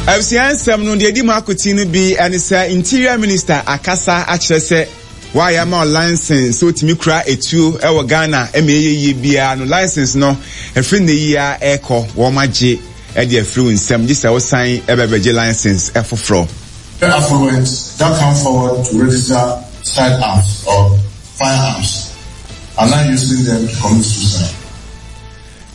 Abusua nsɛm no deɛ ɛdi mu akoten no bi ne sɛ Interior Minister akasa akyerɛ sɛ wɔayɛ ama wo license sɛ wotumi kura etuo wɔ Ghana ma ɛyɛ yie biara no license no ɛfiri nnɛ yi ara ɛrekɔ wɔn agye de afiri wo nsam gye sɛ wosan bɛbɛgye license foforɔ. The affluent that come forward to register side arms or firearms are now using them to commit suicide.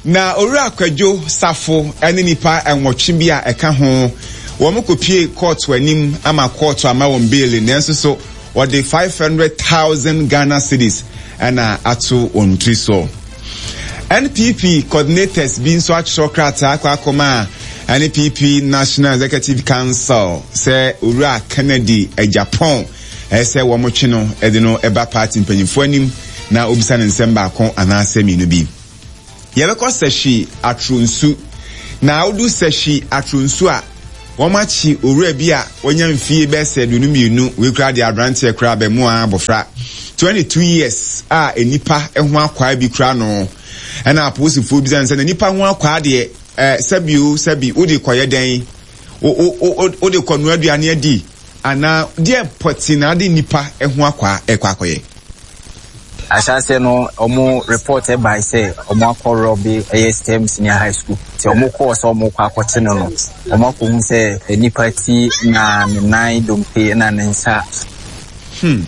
Na Owura Kwadwo Safo ne nnipa nwɔtwe bi a ɛka ho, wɔn kɔpue kɔɔto anim ama kɔɔto ama wɔn beele nanso so wɔde 500,000 Ghana cedis na ato wɔn tiri so. NPP coordinators bi nso atwerɛ krataa akɔ akɔma NPP National Executive Council sɛ Owura Kennedy Agyapong ɛsɛ sɛ wɔtwe no de no ba party mpanyinfoɔ anim na obisa no nsɛm baako anaasɛ mmienu bi. Yɛbɛkɔ Sahwi Atronsu. Na wodu Sahwi Atronsu a, wɔakye owura bi a wanya mfie bɛyɛ sɛ 22, wei koraa deɛ aberanteɛ koraa abɛmoa abɔfra, 22 years a nnipa ho akwaa bi kura no. Ɛna apolisifoɔ bisa no sɛ, na nnipa ho akwaa deɛ, eh, sɛbi o, sɛbi, wode kɔyɛ dɛn? Wo, wo, wo, wode kɔnoa aduane adi? Anaa deɛ pɔtee na ade nnipa ho akwaa ɛkɔ akɔyɛ? Ahyɛaseɛ no ɔmo report bae sɛ ɔmo akɔ rɔbe ɛyɛ STEM senior high school nti ɔmo kɔɔ sɛ ɔmo kɔ akɔkye no no ɔmo akɔhu sɛ nipa ti na ne nan dompe na ne nsa. Hmm.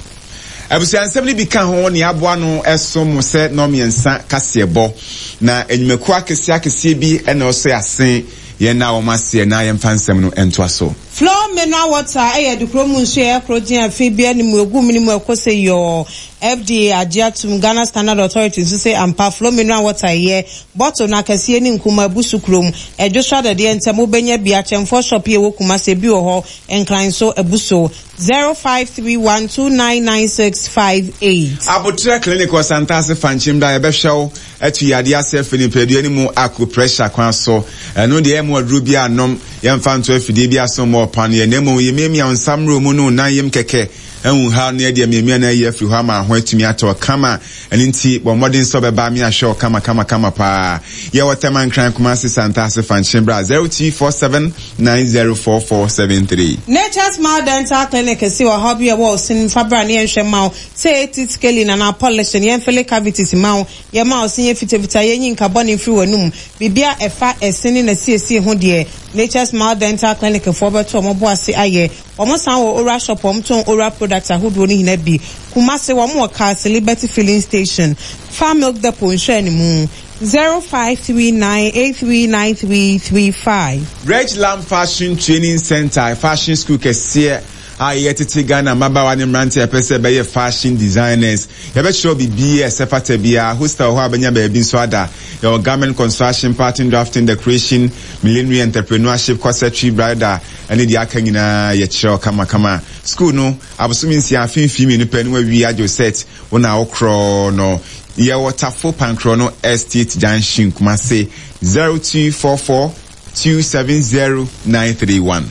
Abusuansɛm no bi ka ho nea aboa no som mo sɛ nnɔnmiɛnsa kaseɛbɔ. Na nnwumakuo akɛseɛ akɛseɛ bi na ɔsɔe ase. Yɛn nna wɔn aseɛ na yɛmfa nsɛm no ntoa so. Flow mineral water yɛ adukuro mu nsuo a ɛyɛ korɔgyenn a fi biara nni mu, ɛgu mene mu ɛkɔ sɛ yɔɔ. FDA agye atom, Ghana Standard Authority nso se ampa Flow mineral water yɛ. Bottle no akɛseɛ ne nkumaa abu so kurom. Ɛdwo so adɛdeɛ ntɛm wobɛnya bi. Akyɛmfoɔ shop yi a ɛwɔ Kumasi ebi wɔ hɔ, Nkran nso abu so. 0531299658. Aboterɛ Clinic wɔ Santase Fankyem da yɛbɛhwɛ wo atu yadeɛ ase afiri nipadua no mu acupressure kwan so. Ɛno deɛ yɛmma wo aduro biara nnom, yɛmfa nto afidie bi aso mmɔ wo paneɛ na mmom yɛmiamia wo nsa mmerɛ mu ne wo nan yam kɛkɛ ahu haw no yɛde amiamia no ayi afiri hɔ ama ho atumi atɔ wo kama. Ɛno nti bɔ mmɔden sɛ wobɛba me ahwɛ wo kama kama kama paa. Yɛwɔ Tema, Nkran, Kumasi, Santase, Fankyem bra 0247 904473. Nature's Smile Dental Clinic se ɔhaw bi a ɛwɔ wo se no fa bra na yɛnhwɛ mma wo. Sɛ ɛyɛ teeth scaling anaa polishing, yɛnfele cavities mma wo, yɛmma wo se nyɛ fitafita, yɛnyi nka bɔne mfiri w'anum. Biribiara a ɛfa ɛse ne n'asiesie ho deɛ, Nature's Smile Dental Clinic foɔ bɛto wɔn bo ase ayɛ. Wɔn san wɔ Ora Shop a wɔtɔn Ora products ahodoɔ no nyinaa bi. Kumasi, wɔn wɔ Kaase Liberty Filling Station, Far Milk Depot nhwɛanimu. 0539839335. Reg Lam Fashion Training Centre, fashion school kɛseɛ a yɛtete Ghana mmabaawa ne mmeranteɛ a ɛpɛ sɛ ɛbɛyɛ fashion designers. Yɛbɛkyerɛ wo biribiara a ɛsɛ fata biara. Hostel wɔ hɔ a wobɛnya baabi nso ada. Yɛwɔ garment construction, pattern drafting, decoration, millinery, entrepreneurship, corsetry, bridal ne deɛ aka nyinaa yɛkyerɛ wo kamakama. School no, abosome nsia, afe mfii mmienu pɛ na wawie agye wo cert. Wo na wokorɔ no. Yɛwɔ Tafo Pankrɔ no Estate Junction, Kumasi, 0244 270 931.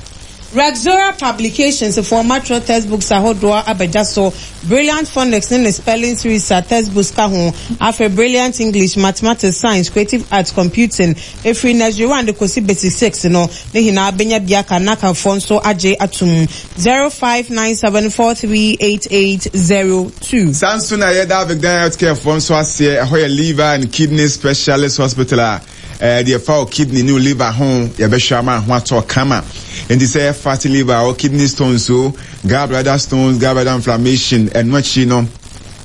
Rexora Publications foɔ matwerɛ textbooks ahodoɔ aba dwa so, Brilliant Phonics ne ne Spelling Series a textbooks ka ho, afei Brilliant English, Mathematics, Science, Creative Arts, Computing, ɛfiri Nursery One de kɔsi Basic Six no, ne nyinaa bɛnya bi aka, NACA foɔ nso agye atom. 0597438802. Saa nso na yɛda Avigdan Healthcare foɔ nso aseɛ, ɛhɔ yɛ Liver and Kidney Specialist Hospital a ɛɛ deɛ ɛfa wo kidney ne wo liver ho yɛbɛhwɛ ama ho atɔ kama. Nti sɛ ɛyɛ fatty liver o, kidney stones o, gallbladder stones, gallbladder inflammation, ɛno akyi no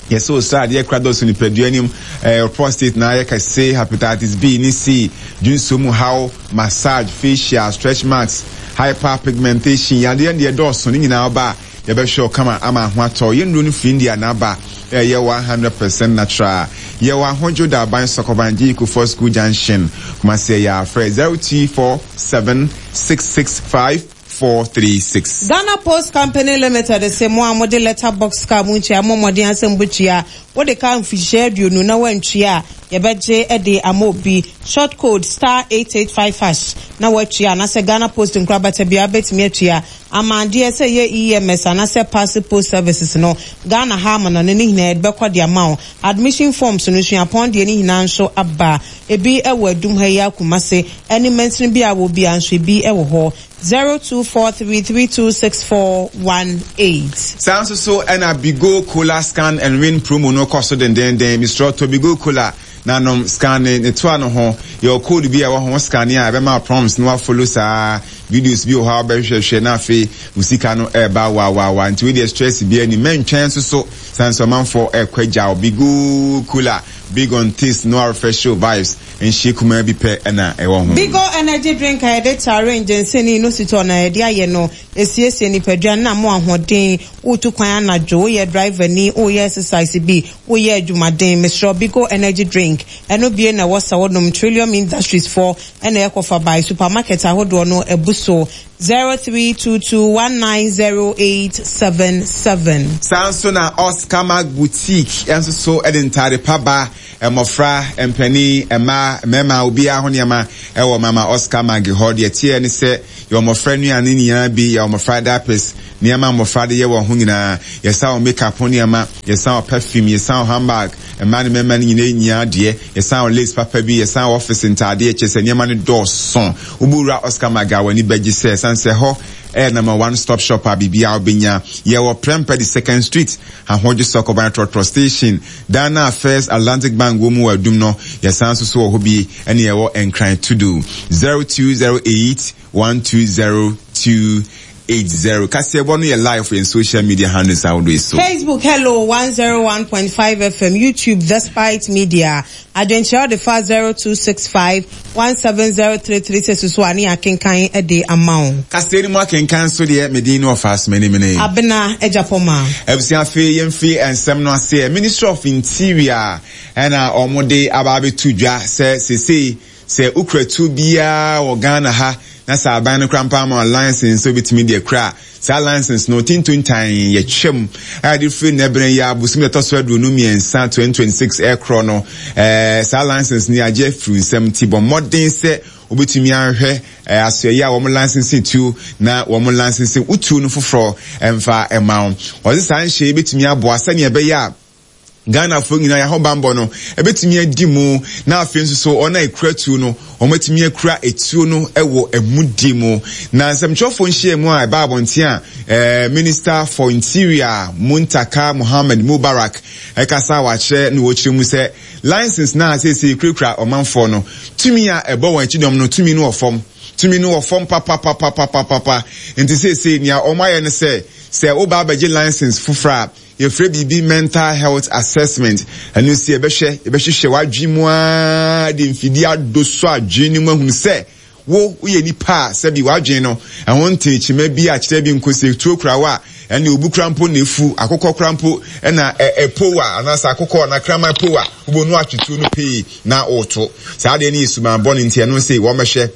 yɛsɛ osra adeɛ kora dɔso nipadua anim, ɛɛ prostate na ayɛ kɛse, hepatitis B ne C, dwonsuo mu haw, massage, facial, stretch marks, hyperpigmentation, yadeɛ deɛ dɔɔso ne nyinaa ɔba a yɛbɛhwɛ wo kama ama ho atɔ. Yɛn nnuro no firi India na aba, ɛyɛ 100% natural. Yɛwɔ Ahodwo Daban Sɔkɔban Gye Kufuor School Junction, Kumasi ɛyɛ a frɛ 0247 665 436. Ghana Post Company Limited se mo a mode letter box kaa mo ntua mo mmɔden asɛ mobɛtua. Wode kaa mfihyia 20 na woantua a, Yɛbɛgye de ama obi. Short code star 885 hash na woatua anaasɛ Ghana Post nkorabata biara wobɛtumi atua ama adeɛ sɛ ɛyɛ EMS anaasɛ Parcel Post Services no Ghana ha amanɔne no nyinaa yɛde bɛkɔ de ama wo. Admission forms no suapɔn deɛ no nyinaa nso aba. Ebi wɔ Adum ha yi ara Kumasi ne mansini biara a wɔ biara nso ebi wɔ hɔ. 0243326418. Saa nso so na Bigo Cola Scan and Win promo no kɔ so dendeenden. Mesrɛ tɔ Bigo Cola na nom, scanne ne toa no ho. Yɛwɔ code bi a ɛwɔ ho, wo scanne a ɛbɛma wo prompts na woafollow saa. Videos bi wɔ hɔ a wobɛhwehwɛhwɛ na afei wo sika no ɛreba wawawa. Nti wei deɛ stress biara nnim. Mɛntwɛn nso so sane sɛ ɔmanfoɔ ɛrekɔ agya wo. Bigo Cola, big on taste no arefresh wo vibes. Nhye kumaa bi pɛ na ɛwɔ ho. Bigo energy drink a yɛde tarin, ginseng ne inositol na yɛde ayɛ no, esiesie nipadua no na ama wo ahoɔden. Woretu kwan anadwo, woyɛ driver ni, woreyɛ exercise bi, woreyɛ adwumaden, mesrɛ wo Bigo energy drink, ɛno bie na ɛwɔ sɛ wonom. Trillium Industries foɔ na ɛkɔfa bae, supermarket ahodoɔ no abu so. 0322190877. Saa nso na Oscar Mark Boutique nso so de ntaade pa ba. Mmɔfra, mpanin, mmaa, mmarima, obiara ho nneɛma wɔ Mama Oscar Maggie hɔ. Deɛ ɛteɛ ne sɛ, yɛwɔ mmɔfra nnuane nyinaa bi, yɛwɔ mmɔfra diapers, nneɛma a mmɔfra de yɛ wɔn ho nyinaa, yɛsan wɔ makeup ho nneɛma, yɛsan wɔ perfume, yɛsan wɔ handbag, mmaa ne mmarima no nyinaa nyinaa deɛ, yɛsan wɔ lace papa bi, yɛsan wɔ office ntaadeɛ, kyerɛ sɛ nneɛma no dɔɔso. Wobɛwura Oscar Maggie a w'ani bɛgye sɛ, ɛsiane sɛ ɛhɔ yɛ number one stop shop a biribiara wobɛnya. Yɛwɔ Prempeh the Second Street, Ahodwo Sɔkɔban Trɔtrɔ Station. Dan no a First Atlantic Bank wɔ mu wɔ Adum no, yɛsan nso so wɔ hɔ bi, ɛne yɛwɔ Nkran Tudu. 0208 120 280. Kaseɛbɔ no yɛ live wɔ yɛn social media handles ahodoɔ yi so. Facebook, Hello 101.5 FM, YouTube, Despite Media. Adwenkyerɛ wode fa 0265 170336 so a ne yɛakenkan de ama wo. Kaseɛ no mu akenkan nso deɛ, me din ne Ɔfaaso Manimene. Abena Agyapɔma. Abusua afei yɛmfiri nsɛm no aseɛ. Ministry of Interior ɛna wɔn de aba abɛto dwa sɛ sesei sɛ wokura tuo biara wɔ Ghana ha na sɛ aban no koraa mpo ama wo license sɛ wobɛtumi de akura a, Saa license no tintontan yɛ twam a yɛde firi nnɛ berɛ yi ara bosome da ɛtɔ so 23, 2026 rekorɔ no. Eh, saa license no yɛagye afiri nsam nti bɔ mmɔden sɛ wobɛtumi ahwɛ eh, asoɛeɛ a wɔn license tuo na wɔn license wo tuo no foforɔ mfa mma wo. Wɔse saa nhyɛ yi bɛtumi aboa sɛnea ɛbɛyɛ a Ghanafoɔ nyinaa yɛn ahobanbɔ no ɛbɛtumi adi mu na afei nso so wɔn a ɛkura tuo no wɔatumi akura etuo no wɔ amudie mu. Na nsɛmtwerɛfoɔ nhyiamu a ɛbaa abɔnten a eh, Minister for Interior Muntaka Mohammed Mubarak ɛkasa a wakyerɛ na wɔkyerɛ mu sɛ license no a seesei kurakura ɔmanfoɔ no tumi a ɛbɔ wɔn akyidɔm no tumi no wɔ fam tumi no wɔ fam papapapapapapa nti seesei nea wɔn ayɛ no sɛ sɛ woba abɛgye license foforɔ a Yɛfrɛ biribi mental health assessment. Ɛno nso yɛbɛhwɛ, yɛbɛhwehwɛ w'adwene mu ara de mfidie adosɔ adwene no mu ahunu sɛ wo woyɛ nipa a sɛbi w'adwene no ɛho ntee kyema bi a kyerɛ bi nko sɛ tuo kura wo a ɛne obu kura mpo na efu akokɔ kura mpo ɛna ɛpow a anaasɛ akokɔ anaa kraman pow a wobɛnu atwe tuo no pee na woto saa adeɛ no yɛ suban bɔne nti ɛno nso wɔmmɛhwɛ.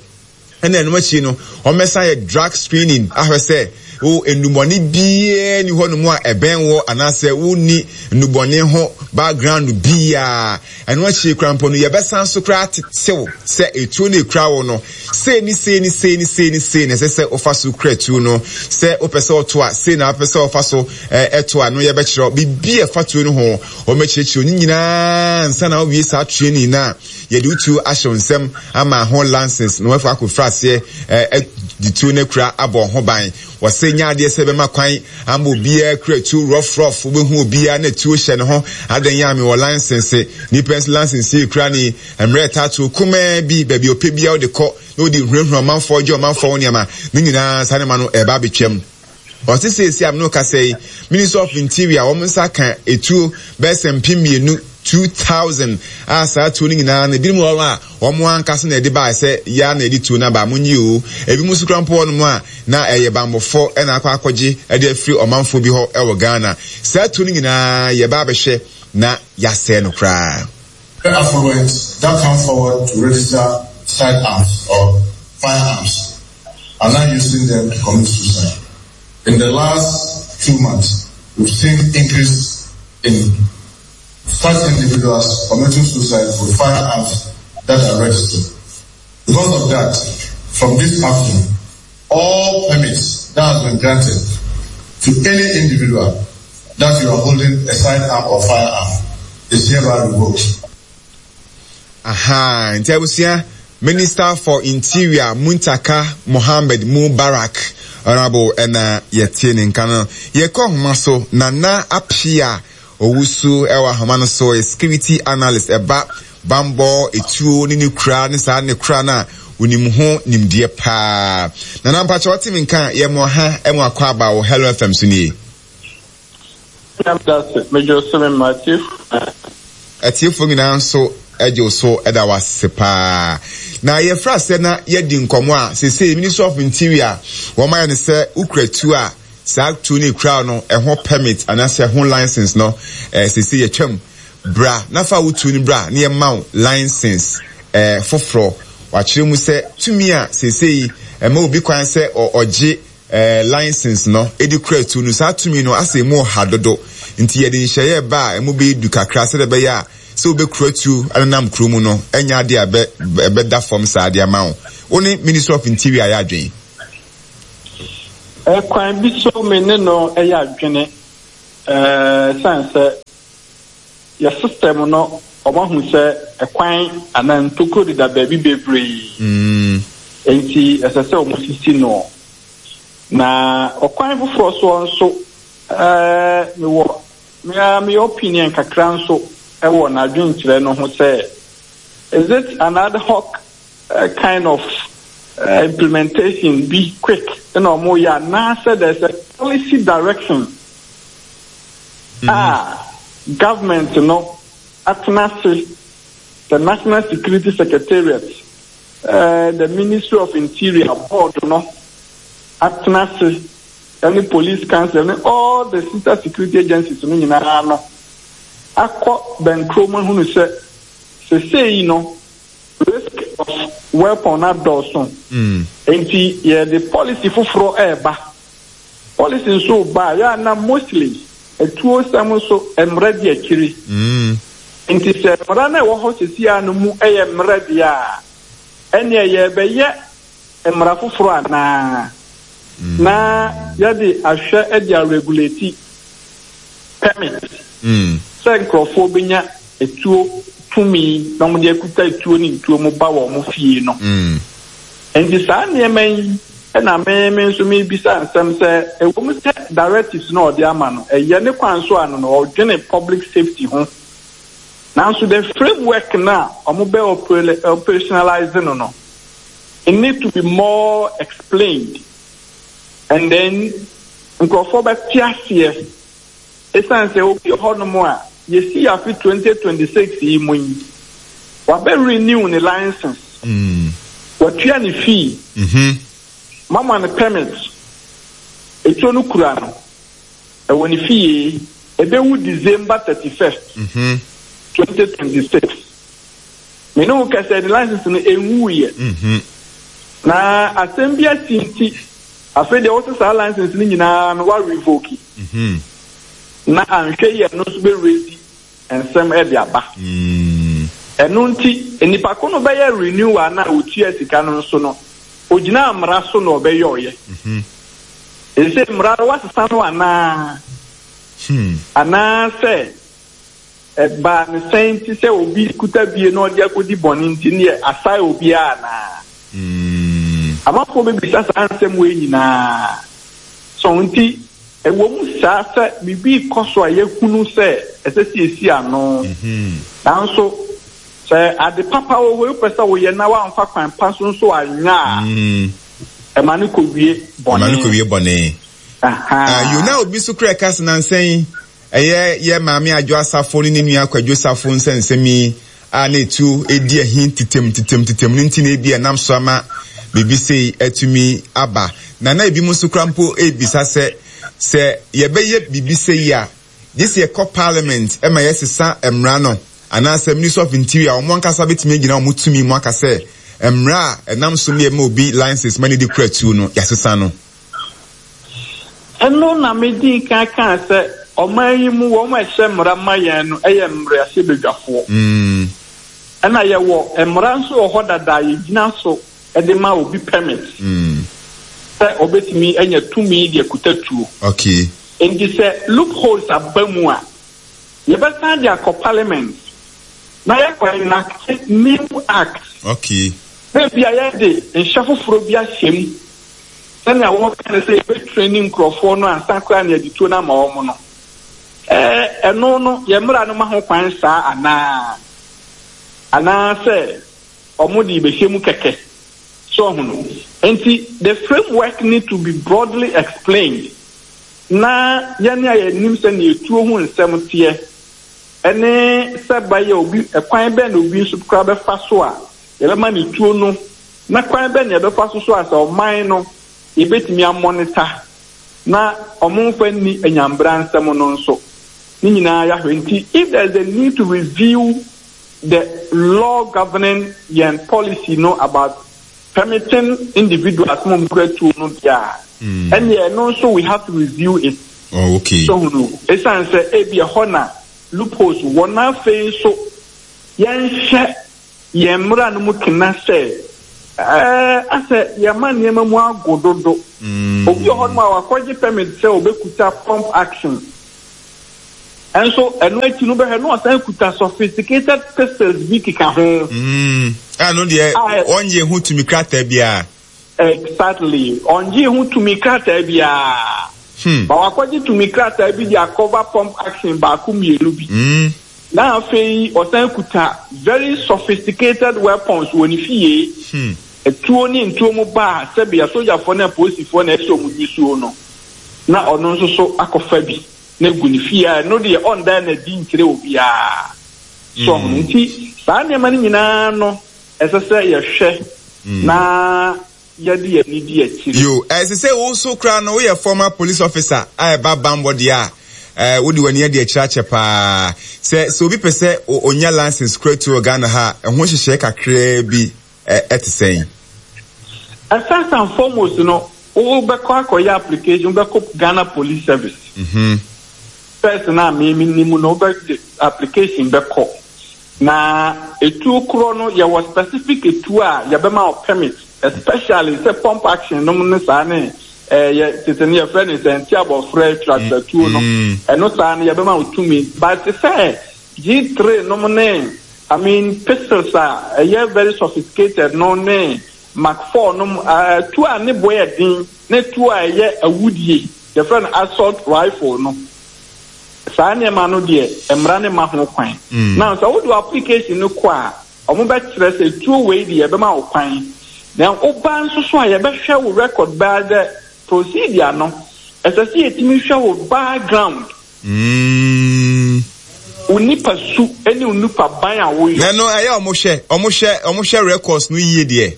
Ɛna ɛno akyi no, wɔbɛsan ayɛ drug screening ahwɛ sɛ wo nnubɔne biara ni hɔnom a ɛbɛn wɔ anaasɛ wonni nnubɔne ho background biara. Ɛno akyi koraa mpo no, yɛbɛsan so koraa atetew sɛ etuo no ekura wo no, sei ne sei ne sei ne sei ne sei na ɛsɛ sɛ wofa so kura tuo no. Sɛ wopɛ sɛ ɔto a, sei na wopɛ sɛ ɔfa so ɛto a, no yɛbɛkyerɛ biribi a ɛfa tuo no ho. Wɔbɛkyerɛkyerɛ ne nyinaa ansa na wowie saa training no a. Yɛde wo tuo ahyɛ wo nsam ama ho lances na woafa akɔfiri aseɛ de tuo no akura abɔ ho ban. Wɔse nyɛ adeɛ sɛ bɛma kwan ama obiara kura tuo rough rough, wobɛhu obiara na tuo hyɛ ne ho, adɛn a mewɔ license, nipa nso license yi kura ne mmerɛ ɛtaa tuo kumaa bi, baabi ɔpɛ biara wode kɔ na wode hunahuna ɔmanfoɔ gye ɔmanfoɔ ho nneɛma, ne nyinaa saa nneɛma no ɛreba abɛtwam. Ɔse seesei a me ne wo kasa yi, Ministry of Interior wɔn nsa aka etuo bɛyɛ sɛ mpem mmienu, 2000, a saa tuo no nyinaa no ebinom wɔ hɔ a wɔn ankasa na ɛde bae sɛ yɛa na yɛde tuo no aba, monnye oo. Ebinom nso koraa mpo wɔ hɔnom a na ɛyɛ bammɔfoɔ na akɔ akɔgye de afiri ɔmanfoɔ bi hɔ wɔ Ghana. Saa tuo no nyinaa yɛba abɛhwɛ na yɛasɛe no koraa. The affluent that come forward to register sidearms or firearms are now using them to commit suicide. In the last two months, we've seen increase in such individuals committing suicide with firearms that are registered. Because of that, from this afternoon, all permits that has been granted to any individual that you are holding a sidearm or firearm is hereby revoked. Ahaa, nti abusua, Minister for Interior Muntaka Mohammed Mubarak, Honourable ɛna yɛte ne nka no. Yɛkɔ ahoma so, Nana Appiah Owusu ɛwɔ ahoma no so, yɛ security analyst, ɛba bambɔ, etuo ne ne kura ne saa ne kura no a onim ho nimdeɛ paa. Nana mpakyɛ ɔte me nka yɛ mo ha ɛmo akɔ aba wɔ Hello FM so nie. Atiefo nyinaa nso gye wo so da wo ase paa. Na yɛfrɛ asɛ na yɛadi nkɔmmɔ a seesei Ministry of Interior wɔn ayɛ no sɛ wokura tuo a saa tuo no ekura no ɛho permit anaasɛ ɛho license no eh, seesei yɛtwam bra na fa wo tuo no bra na yɛma wo license eh, foforɔ. Wakyerɛ mu sɛ tumi a seesei ɛma obi kwan sɛ ɔgye license no de kura tuo no, saa tumi no asɛ emu ɔha dodo. Nti yɛde nhyɛeɛ reba a emu bɛyɛ du kakra sɛdeɛ ɛbɛyɛ a sɛ wobɛkura tuo anenam kuro mu no ɛnyɛ adeɛ a ɛbɛ ɛbɛda fam saa de ama wo. Wo ne Ministry of Interior yɛ adwene? Kwan bi so me ne no yɛ adwene ɛsiane sɛ Yɛ system no ɔmo ahu sɛ ɛkwan anaa ntokuro deda baabi bebree nti ɛsɛ sɛ ɔmo sisi no. Na ɔkwan foforɔ soɔ nso ɛɛ mewɔ me ara me opinion kakra nso ɛwɔ n'adwenkyerɛ no ho sɛ is it an ad hoc kind of implementation bi quick na ɔmo yɛ anaasɛ there's a policy direction a government no atena ase, the National Security Secretariat, the Ministry of Interior board no atena ase ɛne Police Council ne all the sister security agencies no nyinaa no akɔ bɛnkorɔ mu ahunu sɛ sesei no risk of weapon adɔɔso nti yɛde policy foforɔ ɛreba. Policy nso reba a, yɛ a na mostly atuo sɛm nso mmra di akyiri. Nti sɛ mmara no a ɛwɔ hɔ seesei ara no mu yɛ mmerɛ deɛ a, ɛnneɛ yɛrebɛyɛ mmara foforɔ anaa? Na yɛde ahwɛ de aregulate permit sɛ nkurɔfoɔ bɛnya atuo tumi na wɔde akuta atuo ne ntuo mu ba wɔn fie no. Enti saa nneɛma yi na me me nso mebisa nsɛm sɛ, ɛwom sɛ directives no a ɔde ama no, ɛyɛ ne kwan so a no no ɔdwene public safety ho, nanso the framework no a wɔbɛ operationalize no no, it need to be more explained and then nkurɔfoɔ bɛte aseɛ. Esiane sɛ obi wɔ hɔnom a yɛsii afe 2026 yi mu yi, wabɛ renew ne license, watua ne fee, moama no permit, etuo no kura no, ɛwɔ ne fie, ɛbɛwu December 31st, 2026. Me ne wo kasa yi, ne license no ɛnwuiɛ. Na asɛm bi asi nti, afei deɛ wose saa license no nyinaa no wa revoke. Na anhwɛ yie a ɛno nso bɛ raise nsɛm de aba. Ɛno nti nipa ko no bɛyɛ renewal no a ɔtua sika no nso no, ɔgyinaa mmara so na ɔbɛyɔeɛ. Seesei mmara no woasesa no anaa? Anaasɛ ɛbaa no sɛn nti sɛ obi kuta bie na ɔde akɔdi bɔne nti neɛ asae obiara anaa? Amanfoɔ bɛbisa saa nsɛm wei nyinaa. So nti, ɛwom saa sɛ biribi rekɔ so a yɛhunu sɛ ɛsɛ sɛ yɛsi ano, nanso sɛ ade papa wɔ hɔ yi wopɛ sɛ woyɛ na woamfa kwan pa so nso anyɛ a, ɛma no kɔwie bɔne. Ɛma no kɔwie bɔne. Aha. Yo, na obi nso kura ɛka sɛ nansa yi ɛyɛ yɛ maame Adwo Asafo ne ne nua Kwadwo Safo nsɛnsɛm yi a na etuo redi ahi tetem tetem tetem no nti na ebia ɛnam so ama biribi sei atumi aba. Na na ebinom nso koraa mpo rebisa sɛ, sɛ yɛbɛyɛ biribi sei a, gye sɛ yɛkɔ parliament ma yɛsesa mmara no anaasɛ Ministry of Interior wɔn ankasa betumi agyina wɔn tumi mu aka sɛ mmara a ɛnam so ma yɛma obi license ma ne de kura tuo no, yɛasesa no. Ɛno na medii kan kaa sɛ. ɔman yi mu wɔn a ɛhyɛ mmara ma yɛn no yɛ mmarahyɛbadwafoɔ. Ɛna yɛwɔ mmara nso wɔ hɔ dada a yɛgyina so de ma obi permit sɛ ɔbɛtumi anya tumi de akuta tuo. Okay. Enti sɛ loopholes aba mu a, yɛbɛsan de akɔ parliament na yɛakɔ enact new act. Okay. Na ebia yɛde nhyɛ foforɔ bi ahyɛ mu sɛnea wɔka no sɛ yɛbɛtraini nkurɔfoɔ no ansa koraa na yɛde tuo no ama wɔn no. Ɛɛ, ɛno no, yɛn mmara no ma ho kwan saa anaa? Anaasɛ wɔde rebɛhyɛ mu kɛkɛ? So ahu no? Enti, the framework need to be broadly explained na yɛn a yɛnim sɛnea etuo ho nsɛm teɛ ne sɛ bɛyɛ obi, ɛkwan bɛn na obi nso koraa bɛfa so a yɛbɛma ne tuo no, na kwan bɛn na yɛbɛfa so so a sɛ ɔman no yɛbɛtumi amɔnita na wɔmfa nni anyambra nsɛm no nso, ne nyinaa yɛahwɛ. Nti, if there is a need to review the law governing yɛn policy no about permitting individuals ma wɔkura tuo no deɛ a, ɛnneɛ ɛno nso we have to review it. Oh, okay. So hunu, ɛsiane sɛ ebi ɛhɔ na loopholes wɔ na afei nso yɛnhyɛ yɛn mmara no mu kena sɛ ɛɛ asɛ yɛma nneɛma mu ago dodo. Obi wɔ hɔnom a wakɔgye permit sɛ obɛkuta pump action. Nso ɛno akyi no bɛhwɛ na ɔsan kuta sophisticated pistols bi keka ho. Mm, ɛno deɛ ɔngye ho tumi krataa biara. Exactly, ɔngye ho tumi krataa biara. Hmm. Ba wakɔgye tumi krataa bi de akɔva pump action baako mmienu bi. Mm. Na afei ɔsan kuta very sophisticated weapons wɔ ne fie. Hmm. Etuo ne ntuo mu ba a sɛbi asogyafoɔ ne apolisifoɔ na ɛsɛ wɔn nyusuo no, na ɔno nso so akɔfa bi. na egu ne fie a, ɛno deɛ ɔndan no adi nkyerɛ obiara. So ɔho no nti, saa nneɛma no nyinaa no, ɛsɛ sɛ yɛhwɛ na yɛde yɛn ani di akyiri. Yo, ɛsɛ sɛ wo nso koraa no woyɛ former police officer a ɛba bammɔ deɛ a, eh, wode w'ani adi akyiri akyɛ paa. Sɛ sɛ obi pɛ sɛ ɔnya license kura tuo wɔ Ghana ha a, ɛho nhyehyɛe kakraa bi ɛte sɛn? First and foremost no, wobɛkɔ akɔyɛ application, wobɛkɔ Ghana Police Service. Mm-hmm. First na me me nim no, wobɛde application bɛkɔ. Na etuo korɔ no, yɛwɔ specific etuo a yɛbɛma wo permit, especially sɛ pump action nom ne saa ne eh, yɛ tete no yɛfrɛ no sɛ nti abɔfrɛ tratwa tuo no. Ɛno saa no yɛbɛma wo tumi. But sɛ G3 nom ne I mean pistols a ɛyɛ very sophisticated no ne Mark 4 nom, tuo a ne bo yɛ den ne tuo a ɛyɛ awudie, yɛfrɛ no assault rifle no. Saa nneɛma no deɛ mmara no mma ho kwan. Now sɛ wode w'application no kɔ a, wɔbɛkyerɛ sɛ tuo wei deɛ yɛbɛma wo kwan. Na woba nso so a yɛbɛhwɛ wo record by the procedure no, ɛsɛ sɛ yɛtumi hwɛ wo background. Mm. Wo nipa su ne wo nipa ban a woyɔ. Na ɛno ɛyɛ ɔmo hwɛ ɔmo hwɛ ɔmo hwɛ records no yie deɛ.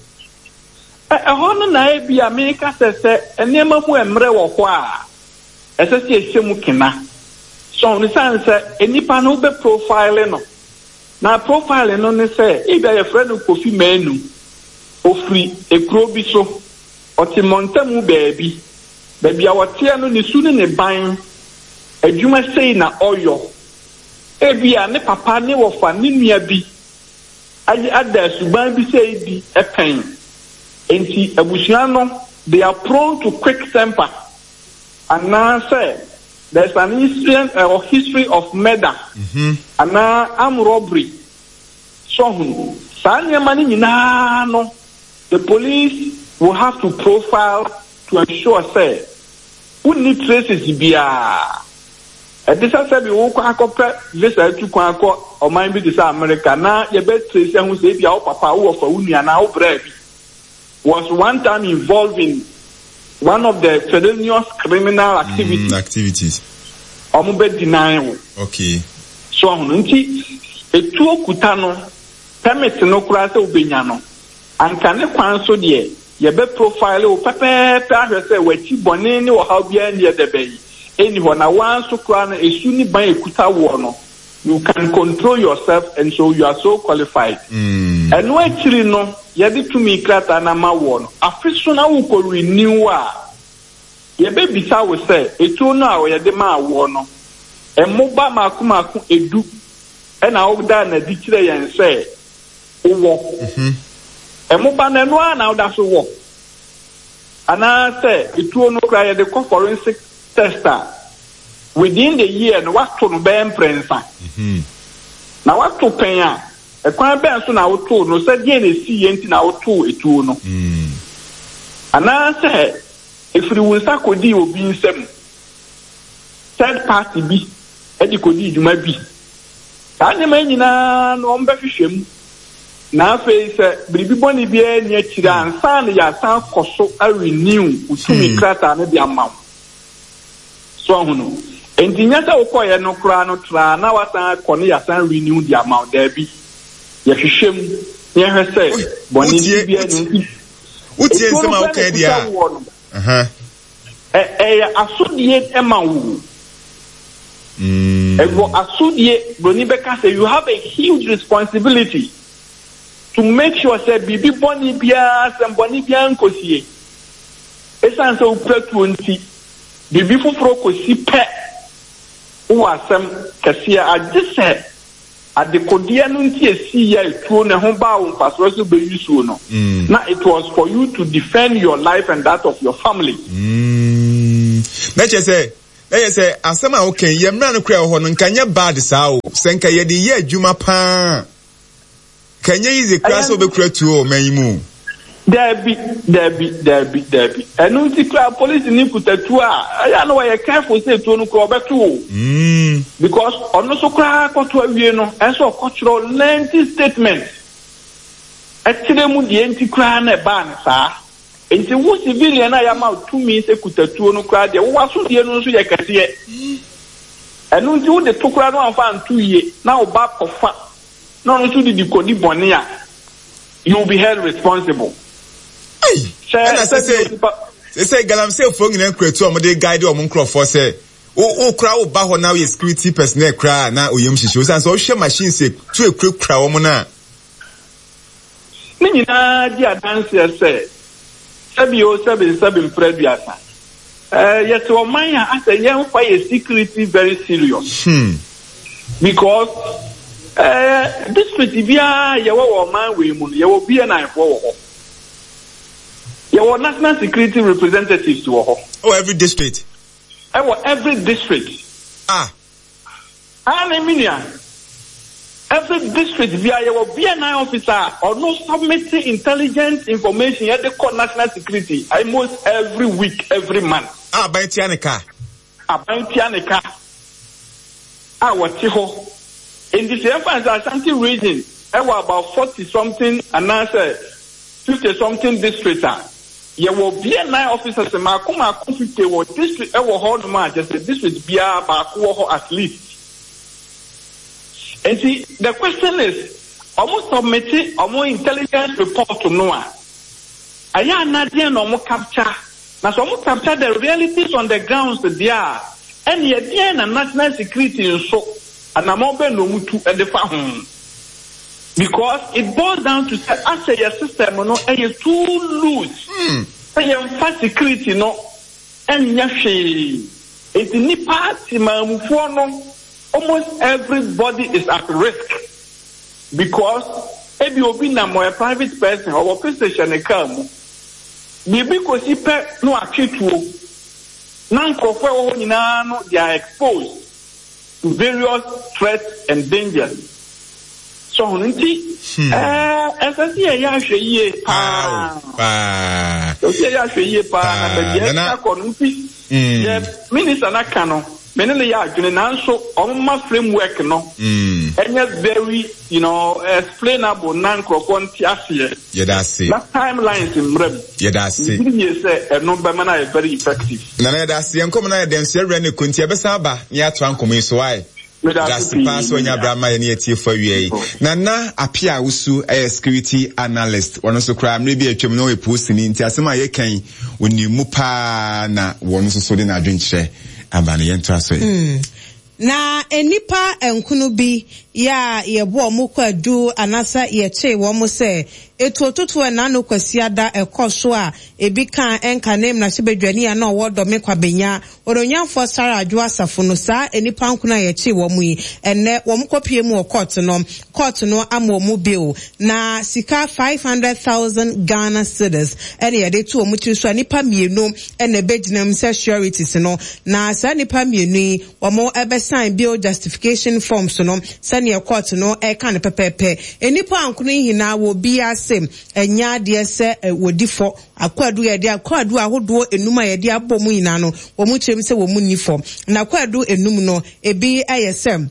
Ɛ ɛhɔ no na ebi a meka sɛ sɛ nneɛma mu mmerɛ wɔ hɔ a ɛsɛ sɛ yɛhyɛ mu kena. So ne sane sɛ nnipa no wobɛ profile no na profile no ne sɛ ebi a yɛfrɛ no Kofi Manu ofiri ekuro bi so ɔte mmɔntamu baabi. Baabi a ɔteɛ no, ne su ne ne ban, adwuma sei na ɔyɔ. Ebia ne papa, ne wɔfa, ne nua bi ayɛ ada suban bi sei di pɛn. Enti abusua no, they are prone to quick temper. Anaasɛ there's an incident or history of murder anaa armed robbery. So ahunu? Saa nneɛma no nyinaa no, the police will have to profile to ensure sɛ wonni traces biara. Ɛte sɛ sɛbi wokɔ akɔpɛ visa atu kwan akɔ ɔman bi te sɛ America na yɛbɛ trace ahu sɛ ebia wo papa, wo wɔfa, wo nua anaa wo braa bi was one time involved in one of the felonious criminal activities. Mm, activities. Wɔn bɛ deny wo. Okay. So ahono nti etuo kuta no permit no koraa sɛ wobɛnya no anka ne kwan so deɛ Yɛbɛ profile wo pɛpɛɛpɛ ahwɛ sɛ w'akyi bɔne ne ɔhaw biara nni ɛdɛ bɛn ɛnni hɔ na woaa nso koraa no ɛsu ne ban ɛkuta woɔ no you can control yourself and so you are so qualified. Ɛno akyiri no yɛde tumi krataa no ama woɔ no afe so na wokɔ renew a yɛbɛbisa wo sɛ ɛtuo no a yɛde maa woɔ no. Mmoba mmaako mmaako edu na wodaa no adi kyerɛɛ yɛn sɛ wowɔ. Mmoba no, ɛno ara na woda so wɔ? Anaasɛ etuo no koraa yɛde kɔ forensic test a, within the year no woato no bɛyɛ mprɛnsa. Na woato pɛn a, ɛkwan bɛn so na wotoo no, sɛ deɛn na ɛsiiɛ nti na wotoo etuo no? Anaasɛ ɛfiri wo nsa kɔdii obi nsam, third party bi de kɔdii dwuma bi. Saa nneɛma yi nyinaa no wɔbɛhwehwɛ mu, na afei sɛ biribi bɔne biara nni akyire a, ansa na yɛasan akɔ so a renew wo tumi krataa no de ama wo. So ahu no? Enti nyɛ sɛ wokɔeɛ no koraa no traa na woasan akɔ na yɛasan renew de ama wo. Daabi. Yɛhwehwɛ mu na yɛhwɛ sɛ bɔne biara nni ho. Wotie Etuo no nsɛm a koraa na woka yi deɛ ɛkuta a, woɔ no. aha. Ɛyɛ asodie ma wo. Ɛwɔ asodie, broni bɛka sɛ you have a huge responsibility to make sure sɛ biribi bɔne biara, asɛm bɔne biara nkɔsie. Ɛsiane sɛ wokura tuo nti, biribi foforɔ kɔsi pɛ, wowɔ asɛm kɛseɛ agye sɛ Adekodeɛ no nti esii a etuo no ɛho baa wo mfasoɔ sɛ wobɛyi suo no, na it was for you to defend your life and that of your family. Mm, na kyerɛ sɛ, na kyerɛ sɛ asɛm a woka yi, yɛn mmara no kura ɛwɔ hɔ no, nka nyɛ bad saa o. Sɛ nka yɛde yɛ adwuma paa, nka nyɛ easy koraa sɛ wobɛkura tuo wɔ ɔman yi mu o. Daabi, daabi, daabi, daabi. Ɛno nti koraa polisini kuta tuo a, ɛyɛ a na wɔyɛ careful sɛ tuo no koraa ɔbɛto o. Mm. Because ɔno nso koraa kɔto awie no, ɛsɛ sɛ ɔkɔtwerɛ lengthy statement ɛkyerɛ mu deɛ nti koraa na ɛbaa no saa. Nti wo civilian a yɛama wo tumi sɛ kuta tuo no koraa deɛ, wo w'asodie no nso yɛ kɛseɛ. Ɛno nti wode to koraa na wamfa anto yie na wo ba kɔfa na ɔno nso de di kɔdi bɔne a, you will be held responsible. Ei! Ɛna sesei, sesei galamseyfoɔ nyinaa kura tuo a wɔde guide wɔn nkurɔfoɔ sɛ wo wo koraa wo ba hɔ na woyɛ security personnel koraa na oyam hyehye wo sane sɛ wohwɛ machines tuo ekurakura wɔn no a. Ne nyinaa di adanseɛ sɛ sɛbi o sɛbi nsɛbi mprɛ aduasa eh, yɛte ɔman a asɛ yɛmfa yɛ security very serious hmm. because eh, district biara yɛwɔ wɔ ɔman wei mu no yɛwɔ BNI foɔ wɔ hɔ yɛwɔ national security representatives wɔ hɔ. Oh, every district. Ɛwɔ every district. Ah. Aane me nua, every district biara yɛwɔ BNI officer a ɔno submit intelligent information yɛde kɔ national security almost every week, every month. A aban tua ne ka. Aban tua ne ka a wɔte hɔ. Enti sɛ yɛmfa no sɛ Ashanti region ɛwɔ about 40 something anaasɛ 50 something district a, Yɛwɔ BNI officers mmaako mmaako 50 wɔ district ɛwɔ hɔ nom a kyerɛ sɛ district biara baako wɔ hɔ at least. Nti the question is ɔmo submit ɔmo intelligence report no a ɛyɛ a na deɛn na ɔmo capture na sɛ ɔmo capture the realities on the grounds deɛ a ɛneɛ deɛn na national security nso anamɔn bɛn na ɔmo tu de fa ho. Because it boils down to sɛ asɛ yɛ system no ɛyɛ too loose sɛ yɛnfa security no ɛnyɛ hwee nti nipa temaamufoɔ no almost everybody is at risk because ebi obi nam ɔyɛ private person ɔwɔ pistol hyɛ ne car mu biribi kɔsi pɛ na watwe tuo na nkorɔfoɔ ɛwɔ hɔ nyinaa no they are exposed. to various threats and dangers. So ho nti, ɛɛ ɛsɛ sɛ yɛyɛ ahwɛ yie paa. Ɛsɛ sɛ yɛyɛ ahwɛ yie paa na baabi a ɛka kɔ no nti, yɛ minister no aka no, me ne no yɛ adwene nanso wɔn ma framework no ɛnyɛ very you know explainable na nkurɔfoɔ nte aseɛ. Yɛda ase. Na timelines mmra mu. Yɛda ase. Megye die sɛ ɛno bɛma no ayɛ very effective. Nana yɛda ase. Yɛn nkɔmmɔ no ayɛ dɛ nso yɛwerɛ ne kɔ nti yɛbɛsan aba na yɛatoa nkɔmmɔ yi so wai. Meda Yɛda ase ase paa pii sɛ me wanya nua. berɛ ama yɛne atiefo awia yi. Nana Appiah Awusu yɛ security analyst. Ɔno nso koraa mmerɛ bi a atwam no ɔyɛ polisini nti asɛm a yɛka yi ɔnim mu paa na wɔn nso so de n'adwenkyerɛ aba no. Yɛntoa so ɛ. Na nnipa nkono bi yɛ a yɛbɔ wɔn kwaadu anasɛ yɛkyee wɔn sɛ etuototo ɛnaano Kwasiada ɛkɔ so a ebi kaa ɛnka ne mmarahyɛbadwani a na ɔwɔ Dɔme Kwabenya. Onuonyamfoɔ Sarah Adwoa Asafo no, saa nnipa nkono a yɛkyee wɔn yi, ɛnnɛ wɔn kɔpue mu wɔ kɔɔto no, kɔɔto no ama wɔn bail, na sika 500,000 Ghana cedis ɛna yɛde to wɔn tiri so a nnipa mmienu ɛna ɛbɛgyina mu sɛ sureties no, na saa nnipa mmienu yi wɔn ɛbɛsign bail justification forms no sɛdeɛ kɔɔto no ɛka no pɛpɛɛpɛ. Nnipa nkono yi nyinaa wɔ obiara se ɛnyɛ adeɛ sɛ wɔdi fɔ. Akwadu a yɛde akwadu ahodoɔ enum a yɛde abɔ mu nyinaa no, wɔn kyerɛ mu sɛ wɔn nni fɔ. Na akwadu enum no, ebi yɛ sɛ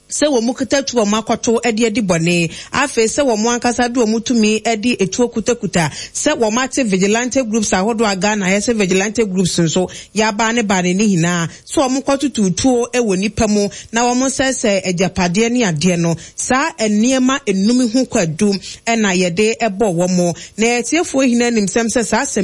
sɛ wɔn kuta tuo a wɔn akɔto de adi bɔne, afei sɛ wɔn ankasa de wɔn tumi de etuo kutakuta, sɛ wɔn ate vigilante groups ahodoɔ a Ghana ayɛ sɛ vigilante groups nso yɛabaa ne baa ne ne nyinaa, sɛ wɔn kɔtoto tuo wɔ nipa mu na wɔn sɛesɛe agyapadeɛ ne adeɛ no, saa nneɛma enum ho kwadu na yɛde bɔ wɔn. Na atiefoɔ nyinaa nim sɛm sɛ saa asɛm yi.